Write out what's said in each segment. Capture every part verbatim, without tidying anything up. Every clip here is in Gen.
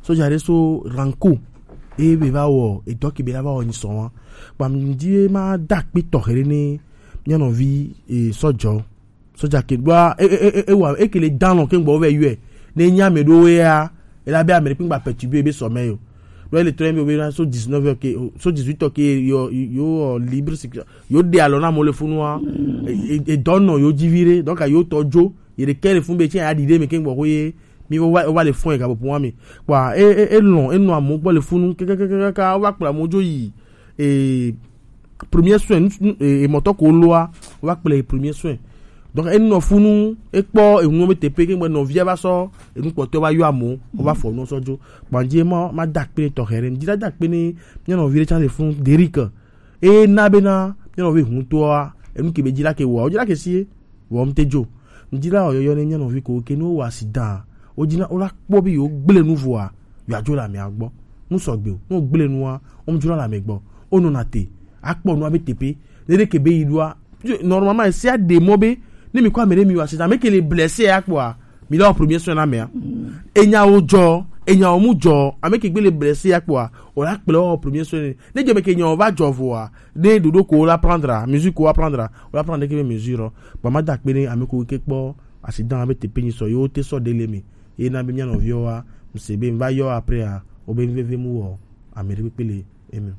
Soja ɖe so Ranko. E be va wɔ edɔ ke be la va wɔ nyisɔ wa. Kpa mi di ma da kpe tɔxɛ ɖe ne mia nɔvi e sɔjɔ. Soja ke ɖoa e e e e wa e ke le dan lɔ ke gbɔ vɛ yɔe. Ne nya me ɖo ya e la be ame ɖe kpe gba perturber be sɔmɛ yo. Ɖo ele trɔ be be na so dix-neuf heures ke so dix-huit heures ke yo yo libre circulation. Yo de alɔ na mo le funu wa. E e dɔ nɔ yo dzi vi ɖe donc yo tɔ dzo. Ye ɖe ke le fun be tse ya ɖi ɖe me ke gbɔ ko ye mi va va le fun e ga bo pun wa mi. Kpa e e e lɔn e nɔ amewo gbɔ le funu kekekekeka wo va kplɔ amewo dzo yi e premier soin nu- nu- e- emɔtɔ ko loa wo va kplɔ yi premier soin. Donc enɔ funu ekpɔ enu be tepe ke ŋgbe nɔvia va sɔ enu kpɔtɔ va yɔ amewo wo va fɔ nu sɔ dzo. Gbadze ma ma da akpe ne tɔxɛ ɖe ŋdi la da akpe ne mia nɔvi ɖe tsa le funu Derrick. Eye na bena mia nɔvi ŋutɔa enu ke be dzi la ke wɔa wo dzi la ke sie. Vɔ ŋute dzo. Ŋdi la wɔ yɔyɔ ne mia nɔvi ko ke ne wowɔ accident. Wo dzi na wo la kpɔ be yewo gble nu vɔa yewo adzo le amea gbɔ. Nu sɔgbe o. Ne wo gble nua, wo ŋdzo la le ame gbɔ. Wo nɔna te. Akpɔ nua be teƒe. Ne ɖe ke be yi ɖoa, normalement esia ɖe mɔ be ne mi kɔ ame ɖe mi wɔ accident, ame ke le blessé ya kpɔa, mi la wɔ premier soin na amea. Enyawo dzɔ, enyawo mu dzɔ, ame ke gbe le blessé ya kpɔa, o la kplɔ wɔ premier soin. Ne dzɔ me ke nyawo va dzɔ vɔa, ne ɖoɖo ko wo la prendre, mesure ko wo la prendre, wo la prendre ke be mesure. Ba ma da akpe ne ame ko ke kpɔ accident be tepe nyi sɔ yo te sɔ dele me. Ye na be mia nɔviwo wa, mse be va yɔ après a, o be veve mu wɔ, ame ɖe kpekpe le eme.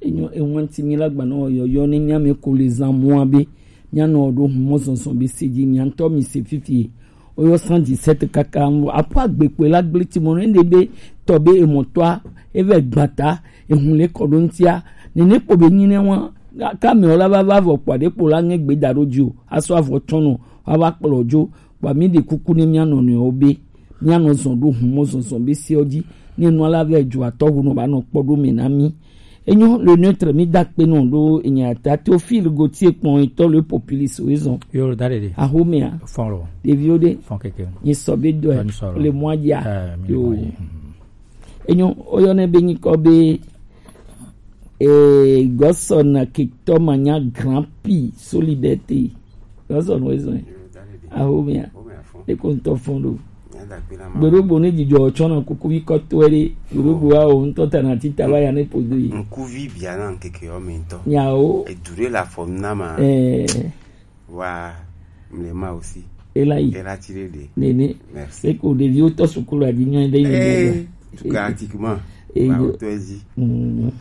Enyo ewanti mi la gbanɔ yɔyɔ ne mia me ko le zan mua be mia nɔ ɖo humɔ zɔnzɔn be se dzi mia ŋutɔ mi se fifi. Oyɔ cent dix-sept kaka ŋu aƒe agbekpe la gblẽ ti mɔ ne ɖe be tɔ be emɔtɔa eve gbata ehun le kɔ ɖo ŋutia. Nene kpɔ be nyi ne wa ka me la va va vɔ kpɔ ɖe kpɔ la ŋe gbe da ɖo dzi o asɔ avɔ tsɔnɔ wa va kplɔ dzo. Kpɔ mi ɖe kuku ne mia nɔ nɔewo be mia nɔ zɔn ɖo hun mɔ zɔzɔ be seɔ dzi ne nua la vɛ dzo atɔ hu nɔ ba nɔ kpɔ ɖo me na mi. Enyo le neutre mi da kpe nɔ ɖo enya ta Théophile Gauthier kpɔn etɔ le populiste o ezɔn. Yo da ɖeɖe. Ahomea. Fɔn lo. Ɖeviwo ɖe. Fɔn keke. Nyi sɔ be dɔe. Nyi sɔ lo. Le mɔa dzia. Eh, mi le mɔa dzi. Enyo oyɔ ne be nyikɔ be eh gɔsɔ na kitɔ ma nya grand pi solidarité. Gɔsɔ no ezɔn. Ahomea. Eko ŋutɔ fɔn ɖo. Gbeɖogbo ne dzidzɔ tsɔ na kuku yi kɔtɔe ɖe. Gbeɖogbo wa o ŋutɔ ta na tita va ya ne podo yi. Ŋkuvi bia na ŋkeke yɔ me ŋutɔ. Nyawo. Edu ɖe la fɔ na ma. Eh. Wa mle ma aussi. Ela yi. Ela ti ɖe ɖe. Nene. Merci. Eko ɖeviwo tɔ sukulu adi nyɔ ɖe yi. Eh, tuka atikuma. Eh, ba yo. Oto ezi. Mm.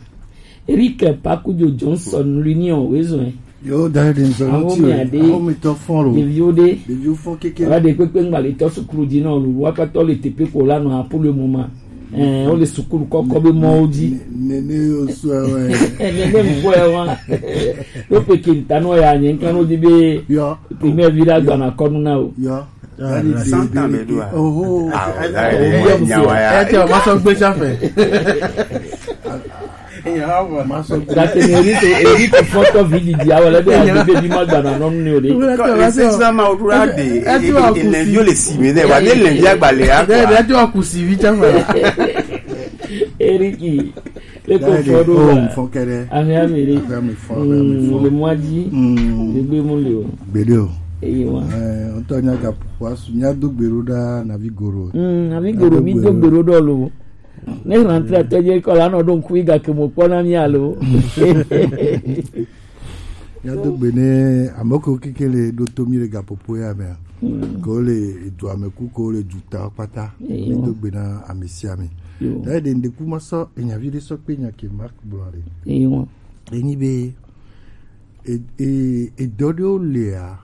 Eric Pakujo Johnson l'union wezɔn. Yo da ɖe nsɔ. Awo ti mi ade. Awo mi tɔ fɔn lo. Ɖeviwo ɖe. Ɖeviwo fɔn keke. Wa ɖe kpekpe ŋgba le tɔ sukulu di nɔ lu wa katɔ le tepe ko la nɔ apolo mo ma. Eh, o le sukulu kɔkɔ be mɔwo dzi. Ne ne yo sɔ wɛ. Ne ne ŋkɔ ya wa. Yo pe ke ta no ya nye nkan o di be. Yo. Primaire vi la gba na kɔnu na o. Yo. Santa me do a. Oho. Ah, da ɖe nyawa ya. E te o ma sɔ gbe sa fɛ. Gake ne eri to eri to fɔtɔ vi didi awɔ lɛ be adi be bi ma gba na nɔnu ne o de. Ko ese sina ma o kura de. Ele yo le si me ne wa ne le ya gba le ya. De de to kusi vi tsa fa. Eriki le ko fɔ do. Oh, fɔ kɛrɛ. Ahia mi re. Ahia mi fɔ, ahia mi fɔ. Le mwa di. Mm. Le gbe mu le o. Gbe de o. Eye wa. Eh, on to nya ga wa su nya do gbero da na vi goro. Mm, na vi goro mi do gbero do lo. Ne rentrée tɔdze kɔ la nɔ ɖo ŋku yi gake mo kpɔ na mi alo. Míado gbe ne ame kewo keke le ɖo to mí le gaƒoƒo ya mea, ke wo le edua me ku ke wo le duta kpata. Mído gbe na ame sia ame. Ta ɖe ŋɖe ku ma sɔ enya vi ɖe sɔ kpe nya ke Mark gblɔ ɖe. Enyi be e- e- edɔ ɖewo lia,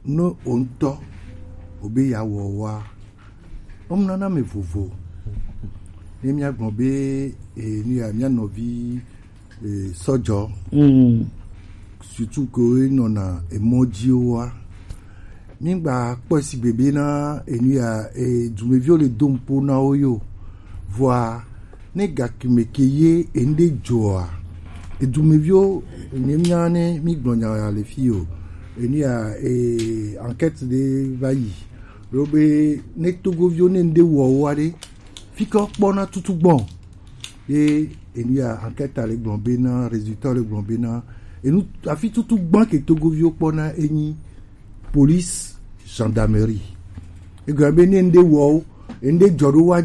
no o ŋutɔ o be ya wɔ wa, o mu nana me vovo. Ne mía gblɔ be e nu ya mía nɔvi e sɔjɔ, surtout ke wo nɔna emɔ dzi wa, mi gba kpɔ sigbe be na enu ya e dumeviwo le do ŋpo na wo yo, vɔa ne gakime ke ye enu ɖe dzɔa, edumeviwo, ne mía ne mí gblɔ nya ya le fi o, enu ya e enquête ɖe va yi ɖo be ne togoviwo ne ŋɖe wɔ woa ɖe, fi ke wokpɔna tutu gbɔ ye enu ya enquête le gblɔ be na résultat le gblɔ be na enu afi tutu gbɔ ke togoviwo kpɔna enyi police, gendarmerie. Egɔme be ne ŋɖe wɔ wo, ŋɖe dzɔ ɖo wa